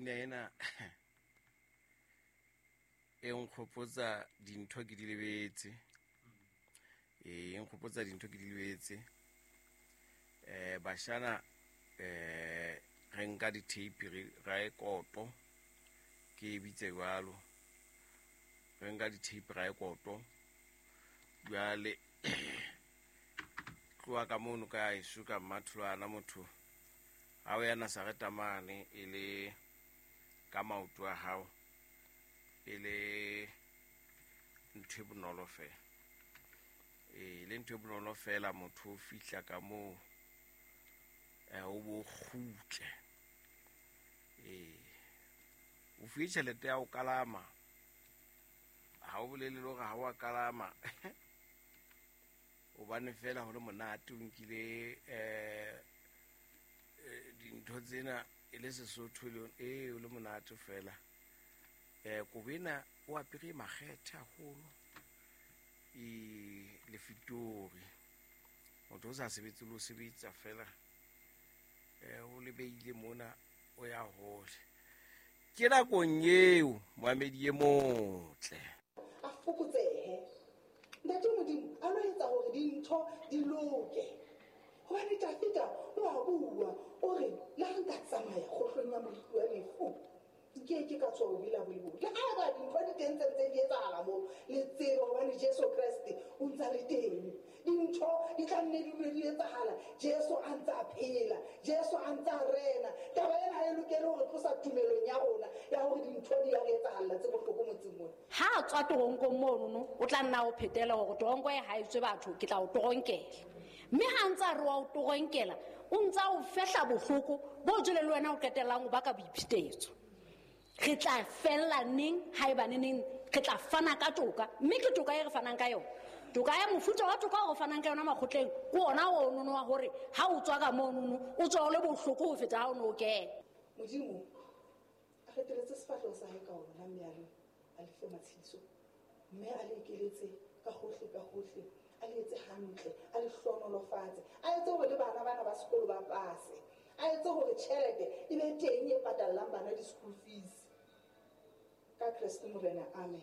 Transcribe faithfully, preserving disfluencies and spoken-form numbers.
Pina ena e nkgopotsa dintho ke di lebetse. E nkgopotsa dintho ke di lebetse. Eh bashana eh re nka di-tape re ra e koto ke e bitse jwalo. Re nka di-tape ra e koto. Jwale tloha ka mono ka heso ka Mmatholwana motho ha o ya Nazareta mane e le ka maoto a hao e le ntho e bonolo fela. E le ntho e bonolo fela motho o fihla ka moo eh o bo kgutle. Eh o fuwe tjhelete ya ho kalama. Ha o bolele le hore ha wa kalama. Hobane fela ho le monate o nkile eh dintho tsena e le Sesotho le eh o le monate fela. Eh kobo ena o apere makgethe haholo e le fitori. Motho o sa sebetse le o sebetsa fela eh o lebeile mona o ya hole. Ke nakong eo moamedi e motle. A fokotsehe. Ntate Modimo a lo etsa hore dintho di loke. Hobane Dafida o a bua o re le ha nka tsamaya kgohlong ya moriti wa lefu nke ke ka tswa o bila bo le. Le ha ba dintho di teng tse ntse di etsahala moo le tsebe hobane Jesu Kreste o ntsa le teng. Dintho di tla nne di dule di etsahala Jesu a ntsa a phela, Jesu a ntsa a rena. Taba ena ha e lokele hore tlosa tumelong ya rona ya hore dintho di ya re etsahalla tse bohloko motseng mona. Ha a tswa toronkong monono o tla nna o phetela hore toronko e ha e tswe batho ke tla o toronkela. Mme ha ntsa re wa o toronkela o ntsa o fehla bohloko bo jwale le wena o qetellang o baka boiphetetso. Re tla fella neng haeba neneng re tla fana ka toka mme ke toka e re fanang ka yona. Toka ya mofuta wa toka o fanang ka yona makgotleng ke ona o nono wa hore ha o tswa ka monono o tswa o le bohloko ho feta ha o no o kena. Modimo a reteletse sefahleho sa hae ka ona mme a le a le fe matshediso mme a le ekeletse ka hohle ka hohle a le etse hantle a le hlohonolofatse a etse hore le bana bana ba sekolo ba pase a etse hore tjhelete e be teng e patallang bana di-school fees. Ka Kreste Morena, amen.